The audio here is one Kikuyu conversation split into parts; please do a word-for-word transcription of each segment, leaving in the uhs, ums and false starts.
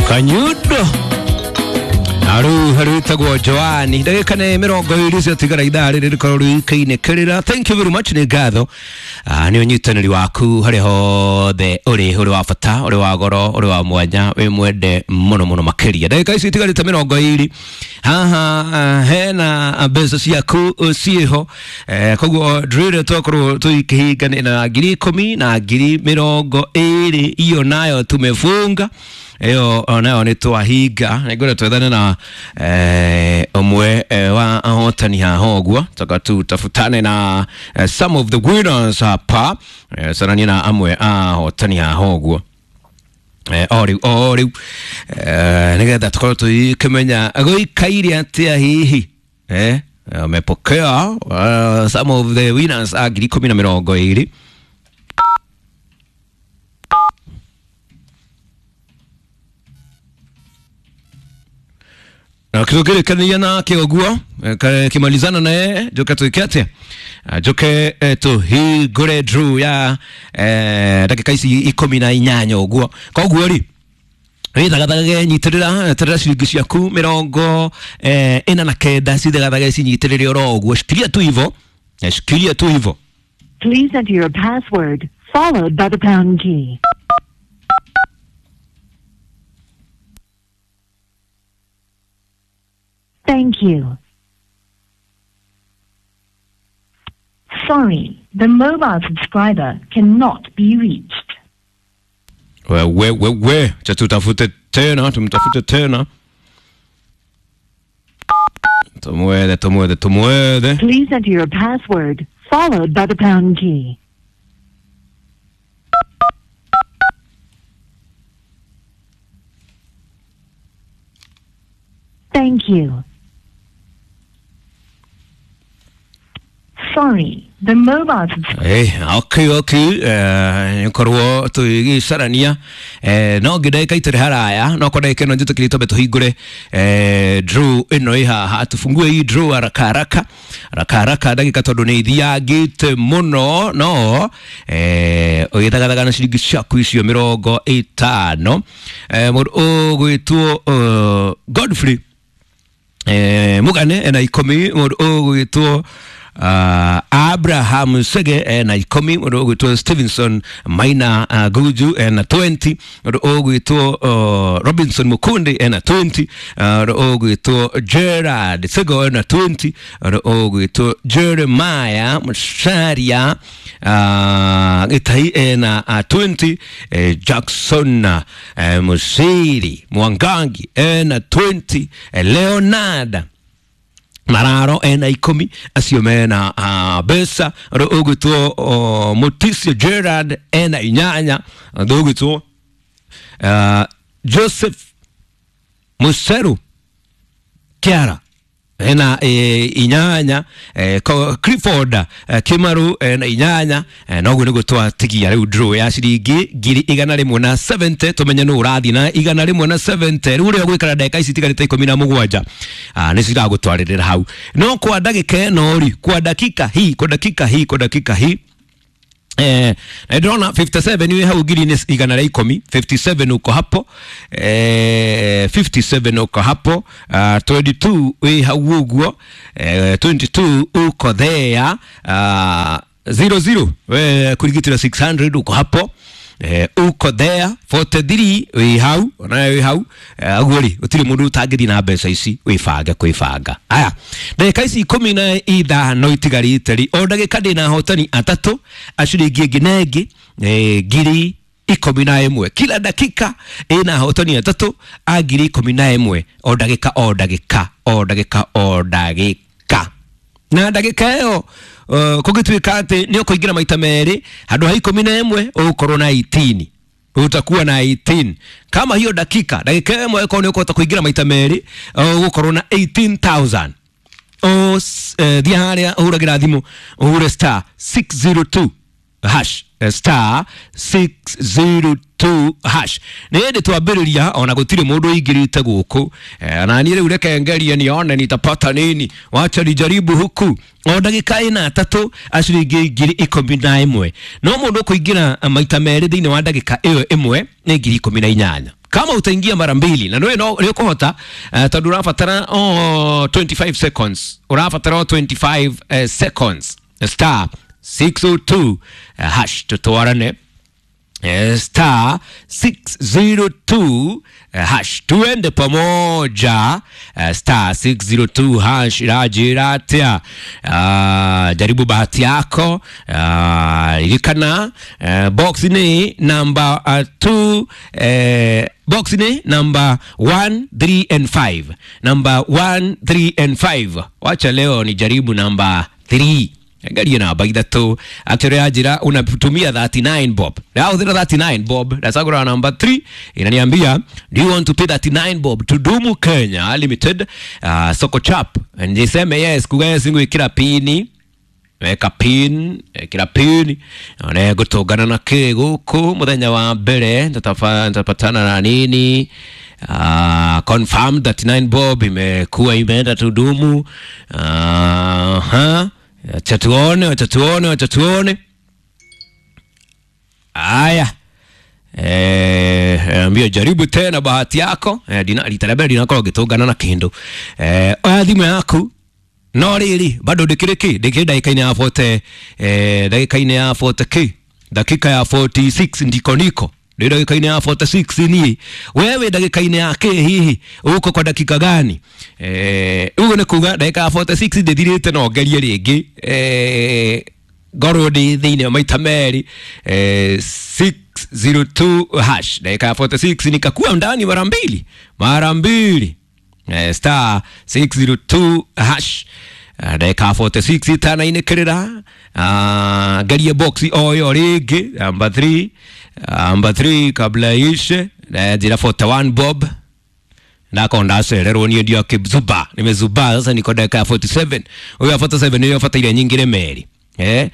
Kanyundo Aru haru tagwo Joani ndagika nĩ mĩrongo ĩrĩ ciatigara ithaa rĩrĩ rĩkorwo rĩikaine kĩrĩra. Thank you very much, nĩ ngatho nĩ ũnyitanĩri waku harĩa hothe ũrĩ, ũrĩ wa bata, ũrĩ wa goro, ũrĩ wa mwanya, wĩ mwende mũno mũno makĩria. Ndagĩka ici itigarĩte mĩrongo ĩrĩ haha hena mbeca ciaku ciĩho, koguo ndrĩre twakorwo tũikĩhinganĩra na ngiri ikũmi na ngiri mĩrongo ĩrĩ, iyo nayo tumefunga, ĩyo nayo nĩ twahinga. Nĩngwenda twethane na eh, ũmwe eh, wa ahotani haha ũguo, toka tutafutane na eh, some of the winners hapa, eh, saranie na amwe a ahotani haha ũguo eh, o rĩu o rĩu eh, nĩgetha tũkorwo tũkĩmenya gũikaire atĩa hihi eh, amepokea uh, some of the winners a ngiri ikũmi na mĩrongo ĩrĩ. Na kitũkĩrĩkania nake ũguo kimalizana naye njoke twĩke atĩa, njoke tũhingũre draw ya ndagĩka ici ikũmi na inyanya ũguo. Koguo rĩ wĩthagathagage, nyitĩrĩra terera ciringi ciaku mĩrongo ĩna na kenda, cithagathage cinyitĩrĩre oro ũguo, shikilia tu hivo, shikilia tu hivo. Please enter your password followed by the pound key. Thank you. Sorry, the mobile subscriber cannot be reached. We, we, we, we. Cha tutafute tena, tumtafute tena. Tumwethe, tumwethe, tumwethe. Please enter your password followed by the pound key. Thank you. Sorry, the mobile subscriber. Hey, okay, okay. Eh, korwo tũgĩcarania eh, no ngĩ ndagĩka itarĩ haraya no kwa ndagĩka ĩno njĩtĩkĩrie twambe tũhingũre eh, draw ĩno ĩ haha, tufungue hii draw haraka haraka haraka haraka ndagĩka tondũ nĩ ithiangĩte mũno, no eh, ũgĩthagathaga na ciringi ciaku icio mĩrongo ĩtano. eh, mũndũ ũgwĩtwo uh, Godfrey eh, Mugane ena ikũmi, mũndũ ũgwĩtwo Uh, Abraham Sege ena ikũmi, mũndũ ũgwĩtwo Stevenson Maina uh, Guju ena twenty, mũndũ ũgwĩtwo uh, Robinson Mukundi ena twenty, mũndũ uh, ũgwĩtwo Gerard Sego ena twenty, mũndũ ũgwĩtwo Jeremiah Musharia uh, Gĩtai ena uh, twenty, eh, Jackson uh, Musiri Mwangangi ena twenty, eh, Leonard Mararo ena ikũmi, acio mena uh, mbeca. Ũndũ ũgwĩtwo uh, Mutisio Gerard ena inyanya, ũndũ ũgwĩtwo uh, Joseph Museru Kiara ena e, inyanya, e, Clifford e, Kimaru ena inyanya. E, noguo nĩguo twatigia rĩu draw ya ciringi ngiri igana rĩmwe na seventy, tũmenye nũ ũrathiĩ na igana rĩmwe na seventy. Rĩu ũrĩa ũgwĩkara ndagĩka ici itigarĩte ikũmi na mũgwanja nĩ ciragũtwarĩrĩra hau, no kwa ndagĩka ĩno rĩ, kwa dakika hii, kwa dakika hii, kwa dakika hii Eh, ndĩrona fifty-seven wĩ hau ngiri igana rĩa ikũmi, fifty-seven uko hapo, eh, fifty-seven uko hapo, uh, twenty-two wĩ hau ũguo, eh, twenty-two uko there, uh, zero zero we kurigitira six hundred uko hapo, eh, uko there, forty-three wĩ hau, onawe wĩ hau, ũguo rĩ gũtirĩ mũndũ ũtangĩthiĩ na mbeca ici, wĩbange kwĩbanga. Aya, ndagĩka ici ikũmi na ithano itigarĩte rĩ, o ndagĩka ndĩna ahotani atatũ a ciringi ĩngĩ na ĩngĩ eh, ngiri ikũmi na ĩmwe. Kila dakika ĩna ahotani atatũ a ngiri ikũmi na ĩmwe, o ndagĩka o ndagĩka o ndagĩka o ndagĩka. Na ndagĩka ĩyo uh, kũngĩtuĩka atĩ nĩ ũkũingĩra maita merĩ handũ ha ikũmi na ĩmwe ũgũkorwo na eighteen, utakuwa na eighteen. Kama hiyo dakika dakika ĩmwe ĩkorwo nĩ ũkũhota kũingĩra maita merĩ ũgũkorwo na eighteen thousand. O thiĩ harĩa ũhũragĩra thimũ ũhure star six zero two hash, star six zero two hash. Nĩ hĩndĩ twambĩrĩria ona gũtirĩ mũndũ ũingĩrĩte gũkũ, eh, na niĩ rĩu reke ngerie nione nitapata nini, wacha nijaribu huku. O ndagĩka ĩna atatũ a ciringi ngiri ikũmi na ĩmwe, no mũndũ ũkũingĩra maita merĩ thĩinĩ wa ndagĩka ĩyo ĩmwe nĩ ngiri ikũmi na inyanya. Kama utaingia mara mbili na nĩ no nĩ ũkũhota, uh, tondũ ũrabatara oh, twenty-five seconds, ũrabatara oh, twenty-five uh, seconds. Star six oh two uh, hash, tutwarane. Eh, star six oh two eh, hash, tuende pamoja. eh, star six oh two hash iranjĩra atĩa? Ah, jaribu bahati yako. Ah, ririkana eh, box ni number two, eh, box ni number one, three and five, number one, three and five. Wacha leo ni jaribu number three, ngarie namba ithatũ. Actually yanjĩra unatumia thirty-nine bob, ndahũthĩra thirty-nine bob, ndacagũra namba three, inaniambia, "Do you want to pay thirty-nine bob to Dumu Kenya Limited, uh, Soko Chap?" Niseme yes, kuga yes ngwĩkĩra pini, weka pin, ĩkĩra pin, one ngũtũngana na kĩ gũkũ mũthenya wa mbere, nitapatana na nini? Uh, confirm thirty-nine bob imekuwa imeenda Tudumu. uh, ha acha tuone, acha tuone, acha tuone. Aya, eh, ambia jaribu tena bahati yako. Eh, dina rita rĩa mbere ndinakorwo ngĩtũngana na kĩndũ. Eh, oya thimũ yaku, no rĩrĩ bado ndĩkĩrĩ kĩ, ndĩkĩrĩ ndagĩka-inĩ ya forty, eh, ndagĩka-inĩ ya forty k, dakika ya forty-six ndiko niko ndĩ ndagĩka-inĩ ya forty-six niĩ. Wewe ndagĩka-inĩ ya kĩ hihi uko kwa dakika gani? Eh, ũguo nĩ kuga ndagĩka ya forty-six ndĩthirĩte, no ngerie rĩngĩ, eh, ngorwo ndĩ thĩinĩ maita merĩ. eh, six oh two hash, dakika ya forty-six nikakuwa ndani mara mbili, mara mbili. eh, star six oh two hash. Ah, ndagĩka ya forty-six itanainĩkĩrĩra, uh, ngerie box oyo rĩngĩ, number three, number three, kabla ishe. Njĩra forty-one bob, ndako ndacererwo niĩ ndiakĩzuba, nimezuba. Sasa niko dakika ya forty-seven. Huyo ya forty-seven nĩyo bataire nyingĩre merĩ. eh,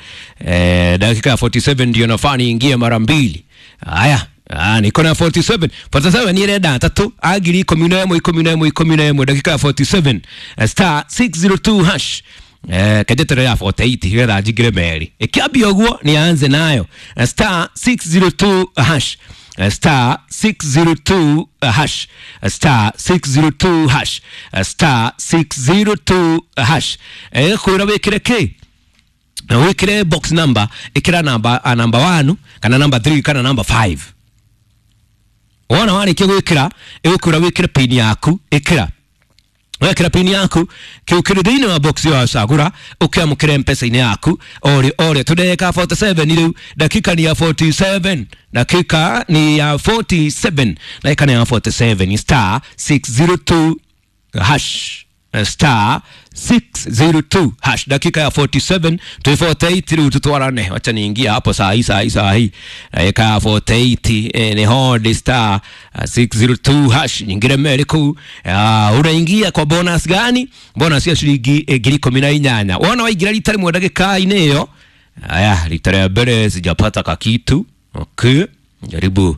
eh, dakika ya forty-seven ndio nafaa niingie mara mbili. Haya. Ah, niko na forty-seven, forty-seven nĩ ĩrenda atatũ a ngiri ikũmi na ĩmwe, ikũmi na ĩmwe, ikũmi na ĩmwe, dakika ya forty-seven. Eh, star six oh two hash. Eh, kenjetere ya forty-eight getha njingĩre merĩ, ĩkĩambia ũguo nianze nayo. Eh, star six oh two hash. Eh, star six oh two hash. Eh, star six oh two hash. Eh, star six oh two hash. Eh, kwĩra wĩkĩre kĩ? Na wĩkĩre box number, ĩkĩra namba, a namba one kana namba three kana namba five. Wona warĩkia gwĩkĩra, ĩgũkwĩra wĩkĩre pin yaku, ĩkĩra. Wekĩra pin yaku, kĩu kĩrĩ thĩinĩ wa box ĩyo wacagũra, ũkĩamũkĩre mpesa-inĩ yaku ore ore. Tũndagĩka forty-seven rĩu, dakika ni ya forty-seven, dakika ni ya forty-seven, dakika ni ya forty-seven. Star six oh two hash, star six oh two hash, dakika ya forty-seven to forty-eight rĩu tutwarane. Wacha niingia hapo saa hii, saa hii, saa hii, dakika ya forty-eight. eh, ni hodi star uh, six oh two hash, nyingine meri kuu. uh, unaingia kwa bonus gani? Bonus ya shilingi eh, ngiri ikũmi na inyanya. Wona waingĩra rita rĩmwe ndagĩka-inĩ ĩyo. Aya, rita rĩa mbere sijapata kakitu. Okay, jaribu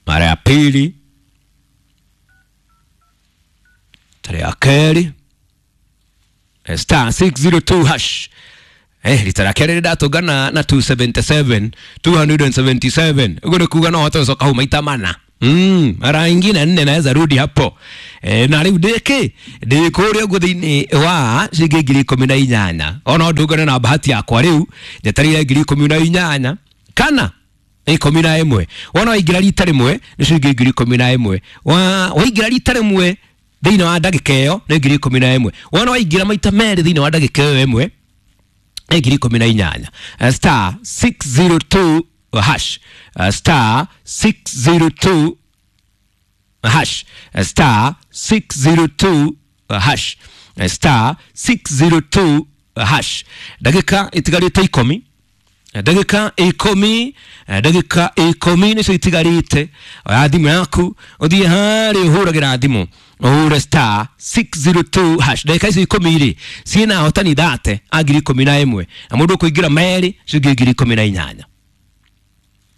mara ya pili, tarehe ya kerĩ. Eh, star six oh two hash. Eh, rita rĩa kerĩ ndatũngana na two seventy-seven, two seventy-seven. Ũguo nĩ kuga no hote gũcoka hau maita mana. Mm, mara ingine nne naweza rudi hapo. Eh, na rĩu ndĩkĩ ndĩ kũrĩa ũguo thĩinĩ wa ciringi ngiri ikũmi na inyanya. Ona ndũngane na bahati yakwa rĩu njetereire ngiri ikũmi na inyanya kana ikũmi na ĩmwe. Wona waingĩra rita rĩmwe nĩ ciringi ngiri ikũmi na ĩmwe. Wa waingĩra rita rĩmwe thĩinĩ wa ndagĩka ĩyo nĩ ngiri ikũmi na ĩmwe. Wona waingĩra maita merĩ thĩinĩ wa ndagĩka ĩyo ĩmwe nĩ ngiri ikũmi na inyanya. Eh, star six oh two hash. Eh, star six oh two hash. Eh, star six oh two hash. Eh, star six oh two hash. Ndagĩka itigarĩte ikũmi, ndagĩka ikũmi, ndagĩka ikũmi nĩcio itigarĩte. Oya thimũ yaku, ũthiĩ harĩa ũhũragĩra thimũ, ũhũre star six oh two hash. Ndagĩka icio ikũmi rĩ, ciĩna ahotani thate a ngiri ikũmi na ĩmwe, na mũndũ ũkũingĩra merĩ ciringi ngiri ikũmi na inyanya.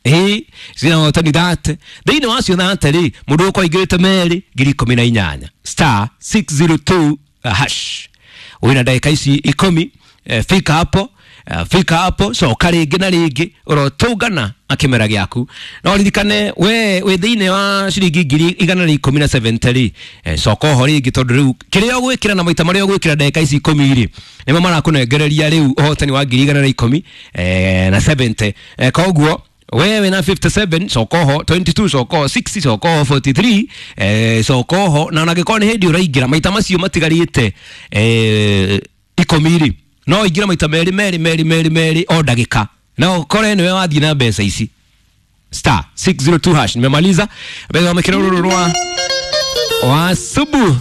Ĩĩ, ciĩna ahotani thate, thĩinĩ wacio thate rĩ, mũndũ ũkũingĩrĩte merĩ ngiri ikũmi na inyanya. Star six oh two hash, wĩna ndagĩka ici ikũmi. eh, fika hapo. Uh, fika hapo coka rĩngĩ na rĩngĩ ũrotũngana na kĩmera gĩaku. No ririkane we wĩ thĩinĩ wa ciringi ngiri igana rĩa ikũmi na seventy rĩ, eh, coka oho rĩngĩ tondũ rĩu kĩrĩa ũgwĩkĩra na maita marĩa ũgwĩkĩra ndagĩka ici ikũmi rĩ, nĩmo marakũnengereria rĩu ũhotani wa ngiri igana rĩa ikũmi eh, na seventy. eh, koguo wewe na fifty-seven coka oho, twenty-two coka oho, sixty coka oho, forty-three eh, coka oho. Na onangĩkorwo nĩ hĩndĩ ũraingĩra maita macio matigarĩte eh, ikũmi rĩ, no ingĩra maita merĩ merĩ merĩ merĩ merĩ o ndagĩka na ũkore nĩwe wathiĩ na mbeca ici. Star six zero two hash. Nimemaliza mbeca wamekĩra rũrũ rwa wasubu.